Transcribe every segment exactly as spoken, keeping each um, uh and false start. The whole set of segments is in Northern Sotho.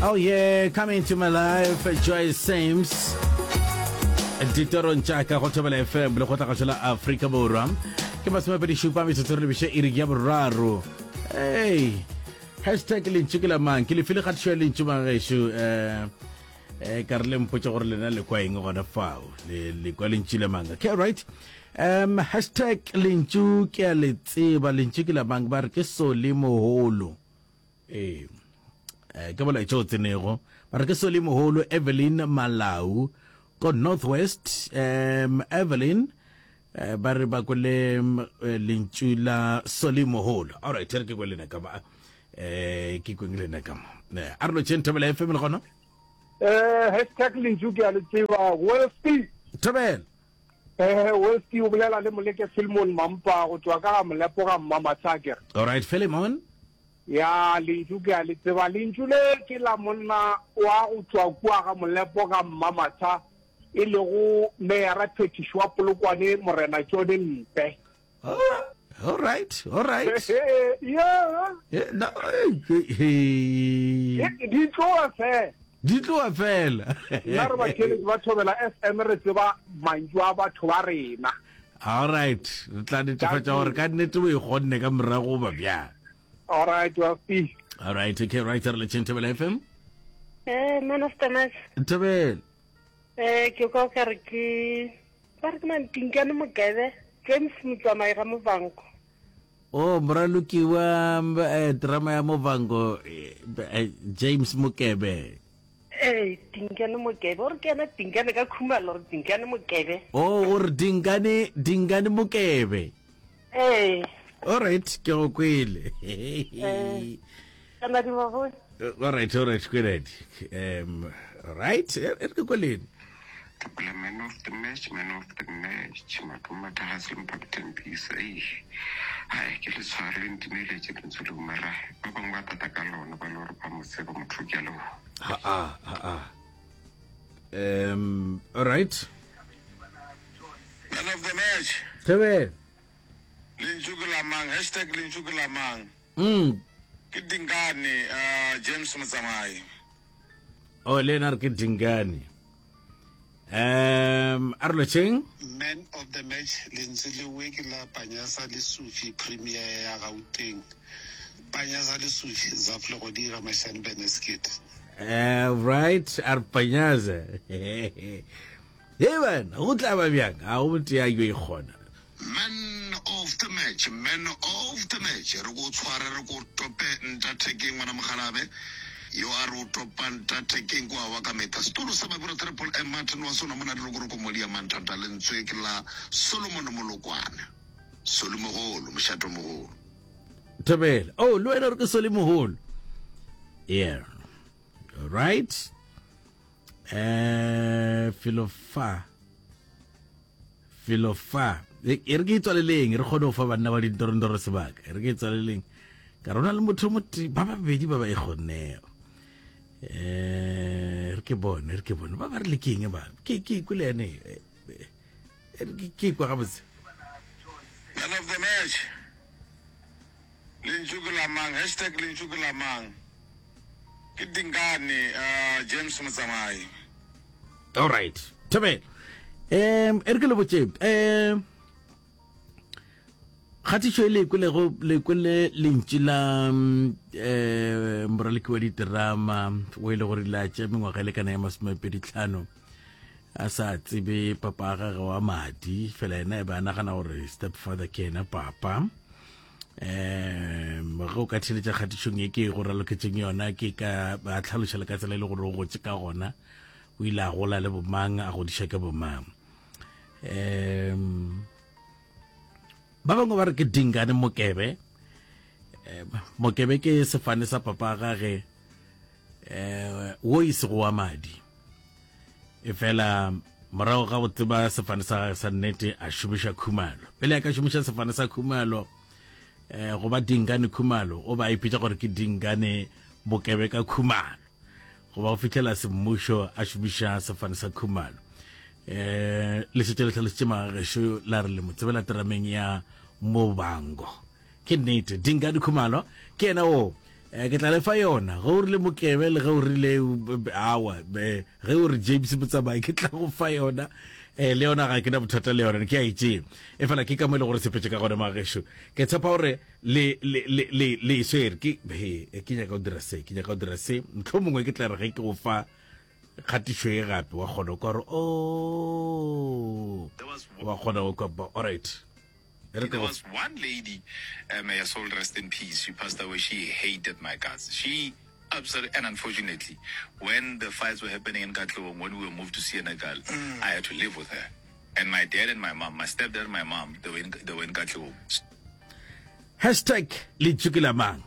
Oh yeah, come into my life, Joyce Sims. Ditorong tša ka go Thobela F M le go tlagašo la Afrika Borwa. Ke masomepedi šupa metsotso re lebiše iri ya boraro. Hey, hashtag lentšu ke la mang? Ke lefile kgatišo ya lentšu magešo. Eh, eh, ka re le mpotše gore lena le kwa eng gona fao. Le, le kwa lentšu la mang? Okay, right. Um, hashtag lentšu ke a le tseba, lentšu ke la mang? Ba re ke Soli Moholo. Ee. Eh, ke molaetša o tsenego. Ba re ke Soli Moholo Evelyn Malau ko Northwest. Um, Evelyn, eh, ba re ba kwele eh, lentšu la Soli Moholo. All right, re ke kwe lena ka ba. Eh, ke kweng lena ka mo. Eh, a re lo tšeng Thobela F M le gona? Eh, hashtag lentšu ke a le tseba, Welski. Thobela. Eh, Welski, o bolela le Moleke Philemon Mampa go tswa ka ga Molepo ga Mmamatshaker. All right, Philemon. Ya, lentšu ke a le tseba. Lentšu le ke la monna wa go tswa kua ga Molepo ga Mmamatsha, e lego meyara phetiši wa Polokwane, Morena John Mpe. Oh, all right, all right. Yeah. Yeah, no, eh, eh, Di tloa fela. Di tloa fela. Nna re batheletši ba Thobela F M, re tseba mantšu a batho ba rena. All right, re tla netefatša gore ka nnete o e kgonne ka morago ba bjang. All right, Welski. All right, okay, right, re le tšeng Thobela F M. Eh, man of the match. Thobela. Eh, ke kwa ka re ke ba re ke mang, Tinkane Mokebe, James Motsamai ga Movango. Oh, moraloki wa eh, drama ya Movango, eh, eh, James Mokebe. Eh, Tinkane Mokebe, o re ke ena Tinkane ka Khumalo, re Tinkane Mokebe. Oh, o re Dingane, Dingane Mokebe. Eh. All right, ke go kwele. Eh. Kana di ba. All right, all right, kweledi. Um, all right, e re ke kweleng. Ke man of the match, man of the match, Matoma Thahase Mpapitempisa. Ei, hai, ke le tshware le ntimeletse lentswe leo, mara ba bangwe ba tata ka lona, ba le gore ba mo tseba motho, ke a leboga. Ha a, ha a. Um, all right. Man of the match. Thobela. Lentšu ke la mang? Hashtag lentšu ke la mang? Mm. Ke Dingane uh, James Motsamai. Oh, le ena re ke Dingane. Um, a re lotšheng. Man of the match, lentswe lewe ke la Panyasa Lesufi, premier ya Gauteng. Panyasa Lesufi, Zafle go dira Mashane Beneskit. Uh, right, a re Panyaza. Hey bana, go tla ba bjang? A go motho ya yo e kgona. Man of the match, man of the match, re ko tshware, re ko tope ntathekeng ngwana mogalabe yo a re o topa ntathekeng kwa wa ka metha setolo sa mabura Triple M Martin wa sona mona dirokoroko modi ya manthata. Lentswe ke la Solomon Molokwane, Solomogolo, mošato mogolo. Thobela. Oh, le wena re ke Soli Moholo. Yeah. All right. Eh, felo fa. Felo fa. E e re ke itswaleleng, re kgone go fa banna ba dintorondoro sebaka. E re ke itswaleleng. Ka rona le motho mote ba babedi ba ba e kgonnego. Eh, re ke bone, re ke bone. Ba ba re le keng ba? Ke ke kwele ene. Eh, eh, re ke ke kwa gabotse. Man of the match, lentšu ke la mang? Hashtag lentšu ke la mang? Ke Dingane uh, James Motsamai. All right. Thobela. Um, e re ke le botše, um kgatišo e le kwelego, le kwele lentšu la um moraloki wa diterama o e le gore la tša mengwaga e lekana ya masomepedi tlhano a sa tsebe papa a gage wa madi, fela ena e ba nagana gore stepfather ke ena papa. Um ge o ka theletša kgatišong e ke go raloketseng yona, ke ka ba tlhaloša le ka tsela e le gore o gotse ka gona, o ile a gola le bomang, a godiša ke bomang. Um ba bangwe ba re ke Dingane Mokebe. um Mokebe ke sefane sa papa gage um wo e sego wa madi, e fela morago ga go tseba sefane sa gage sa nnete a šomiša Khumalo. Pele a ka šomiša sefane sa Khumalo um go ba Dingane Khumalo, o ba a ipitša gore ke Dingane Mokebe ka Khumalo, goba go fitlhela semmušo a šomiša sefane sa Khumalo. um le šetše le tlhalositše magagešo la re le mo tsebela terameng ya Mobango. Ke nnete, Dingane Khumalo ke yena o. Eh, ke tla le fa yona ge o rile mokebe le ge o rile awa ge o re james motsamai ke tla go fa yona um le yona ga ke na bothata le yona ke a e tšee e fela ke ka mo e le gore sepetse ka gone magešo ke tshepa gore le le le le le e swere ke he ke nyaka go dira se ke nyaka go dira se motlho mongwe ke tla re ge ke go fa kgatišo e gape wa kgona go kwa gore o wa kgona go kwa alright There was one lady, uh, may her soul rest in peace. She passed away. She hated my guts. She absolutely, and unfortunately, when the fights were happening in Katlehong, when we were moved to Senekal, mm. I had to live with her. And my dad and my mom, my stepdad and my mom, they were in, they were in Katlehong. Hashtag lentšu ke la mang?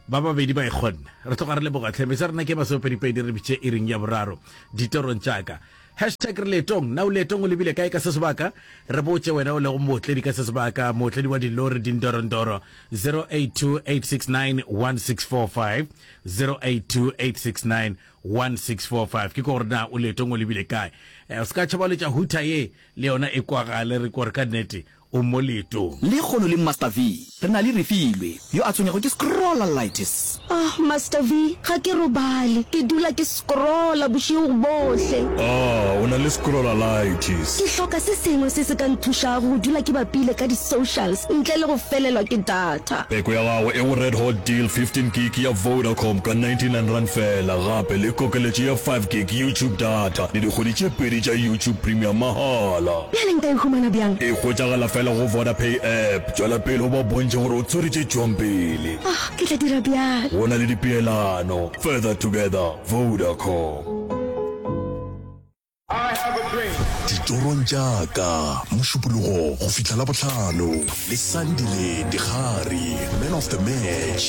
Ba babedi ba e kgonne. Re tloga re leboga tlhe. Mesa rena ke masomepedipedi re bitše iring ya boraro ditorong tša ka. Hashtag re leetong. Na o leetong o lebile kae ka se sebaka? Re botše wena o lego mootledi ka se sebaka, mootledi wa dilori dindorondoro. Zero eight two eight six nine one six four five, zero eight two eight six nine one six four five. Ke ko gore na o leetong o lebile kae. Eh, o se ka tšhaba o letša hooter ye le yona e kwagale re kore ka nnete o mo leetong. Lekgono le Master V, re na le Refilwe, yo a tshwenyago ke scrollalitis. Ah, Master V, ga ke robale. Ke dula ke scrolla bošego bohle. Ah, o na le scrollalitis. Ke hloka se sengwe se se ka nthušago go dula ke bapile ka di-socials ntle le go felelwa ke data. Peko ya gago e go Red Hot Deal fifteen gig ya Vodacom ka ninety nine rand fela, gape le kokeletšo ya five gig YouTube data le dikgwedi tše pedi tša YouTube Premium mahala. Bjale nka e humana bjang? E hwetšagala fela go Vodapay app. Tšwela pele o ba bontšhe gore o tswere tše tšwang pele. Ah, ke tla dira bjalo. Go na le dipeelano. Further together, Vodacom. Ditorong tša ka, Mošupologo go fihla Labohlano, le Sandile Dikgari, Man of the Match.